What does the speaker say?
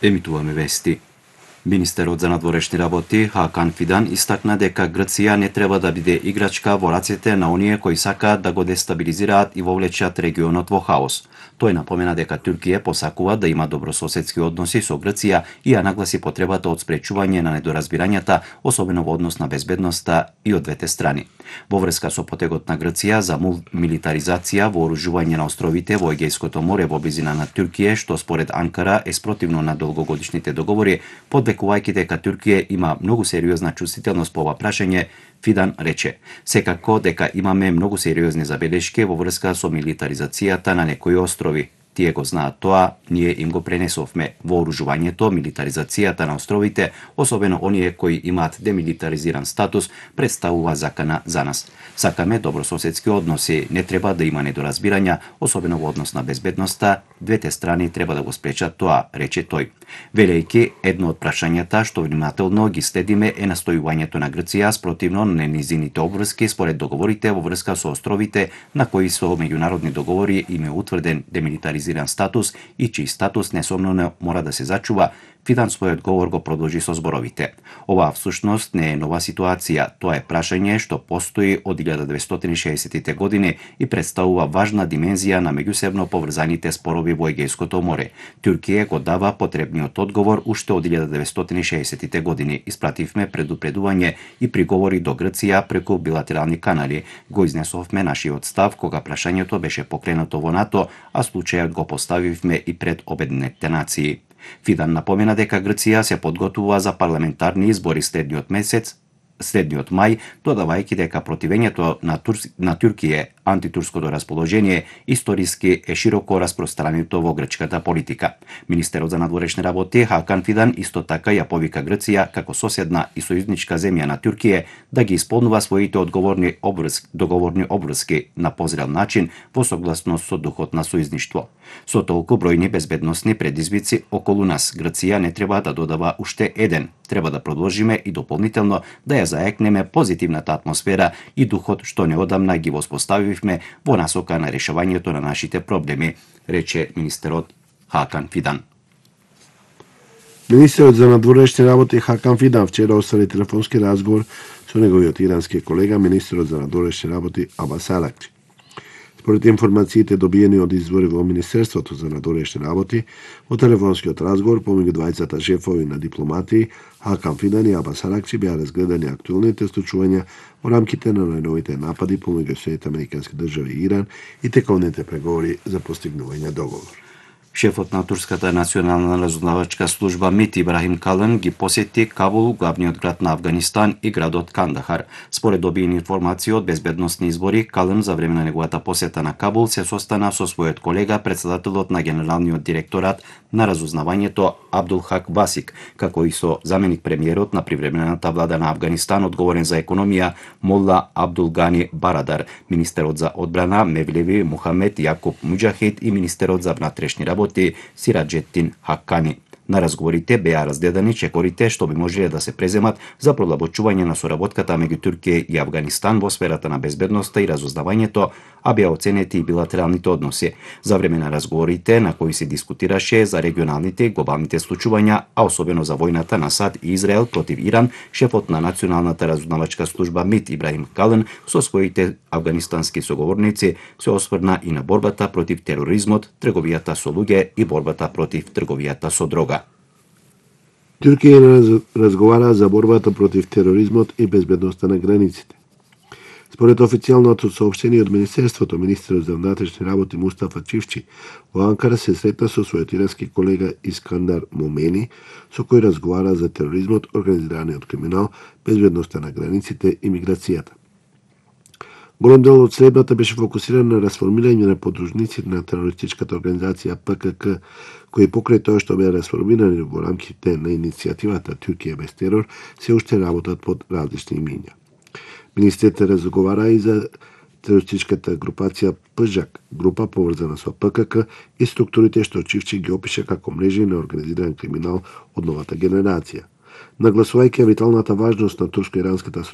Емитуваме вести. Министерот за надворешни работи Хакан Фидан истакна дека Грција не треба да биде играчка во рацете на оние кои сакаат да го дестабилизираат и вовлечат регионот во хаос. Тој напомена дека Туркија посакува да има добрососедски односи со Грција и ја нагласи потребата од спречување на недоразбирањата, особено во однос на безбедноста и од двете страни. Во врска со потегот на Грција за милитаризација, вооружување на островите во Егејското море во близина на Туркија, што според Анкара е спротивно на долгогодишните договори, подвекувајќи дека Туркија има многу сериозна чувствителност по ова прашање, Фидан рече: "Секако дека имаме многу сериозни забелешки во врска со милитаризацијата на некои острови. Тие го знаат тоа, ние им го пренесовме. Вооружувањето, милитаризацијата на островите, особено оние кои имаат демилитаризиран статус, представува закана за нас. Сакаме добрососедски односи, не треба да има недоразбирања, особено во однос на безбедноста, двете страни треба да го спречат тоа", рече тој. Велејќи, едно од прашањата што внимателно ги следиме е настојувањето на Грција спротивно на низините обврски според договорите во врска со островите на кои со меѓународни договори им е утврден демилитаризиран статус и чиј статус несомнено мора да се зачува. Фидан својот говор го продолжи со зборовите: "Оваа всушност не е нова ситуација, тоа е прашање што постои од 1960-тите години и представува важна димензија на меѓусебно поврзаните спорови во Егејското море. Туркија го дава потребниот одговор уште од 1960-тите години. Испративме предупредување и приговори до Грција преку билатерални канали. Го изнесовме нашиот став кога прашањето беше покренато во НАТО, а случајот го поставивме и пред Обединетите нации." Фидан напомена дека Грција се подготвува за парламентарни избори следниот мај, додавајќи дека противењето на Туркија, антитурското расположение, историски е широко распространето во грчката политика. Министерот за надворешни работи Хакан Фидан исто така ја повика Грција како соседна и сојузничка земја на Туркија да ги исполнува своите договорни обврски на позрел начин во согласност со духот на сојузништво. "Со толку бројни безбедносни предизвици околу нас, Грција не треба да додава уште еден. Треба да продолжиме и дополнително да ја заекнеме позитивната атмосфера и духот што неодамна ги воспоставивме во насока на решавањето на нашите проблеми", рече министерот Хакан Фидан. Министерот за надворешни работи Хакан Фидан вчера оствари телефонски разговор со неговиот ирански колега, министерот за надворешни работи Абас Аракчи. Според информациите добиени од извори во Министерството за надворешни работи, во телефонскиот разговор помеѓу двајцата шефови на дипломатии Хакан Фидан и Абас Аракчи беа разгледани актуелните случувања во рамките на најновите напади помеѓу Соединетите Американски држави и Иран и тековните преговори за постигнување договор. Шефот на турската национална разузнавачка служба МИТ Ибрахим Калын ги посети Кабул, главниот град на Авганистан, и градот Кандахар. Според добиени информации од безбедносни избори, Калын за време на неговата посета на Кабул се состана со својот колега, председателот на Генералниот директорат на разузнавањето Абдул Хак Басик, како и со заменик премиерот на привремената влада на Авганистан одговорен за економија Молла Абдул Гани Барадар, министерот за одбрана Мевлеви Мухамед Јакуб Муџахид и министерот за внатрешни работи Сираџеттин Хаккани. На разговорите беа разгледани чекорите што би можеле да се преземат за продлабочување на соработката меѓу Туркија и Авганистан во сферата на безбедноста и разузнавањето, а беа оценети и билатералните односи. За време на разговорите на кои се дискутираше за регионалните и глобалните случувања, а особено за војната на САД и Израел против Иран, шефот на националната разузнавачка служба МИТ Ибрахим Калын со своите авганистански соговорници се осврна и на борбата против тероризмот, трговијата со луѓе и борбата против трговијата со дрога. Туркија разговара за борбата против тероризмот и безбедноста на границите. Според официјалното соопштение од Министерството, министерот за внатрешни работи Мустафа Чивчи во Анкара се сретна со својот ирански колега Искандар Момени, со кој разговара за тероризмот, организираниот криминал, безбедноста на границите и миграцијата. Голем дел од средбата беше фокусиран на расформирање на подружниците на терористичката организација ПКК, кои покрај тоа што беа расформирани во рамките на иницијативата Туркија без терор, се уште работат под различни имиња. Министрите разговара и за терористичката групација ПЖАК, група поврзана со ПКК и структурите што Чивчи ги опише како мрежи на организиран криминал од новата генерација. Нагласувајќи виталната важност на турско-иранската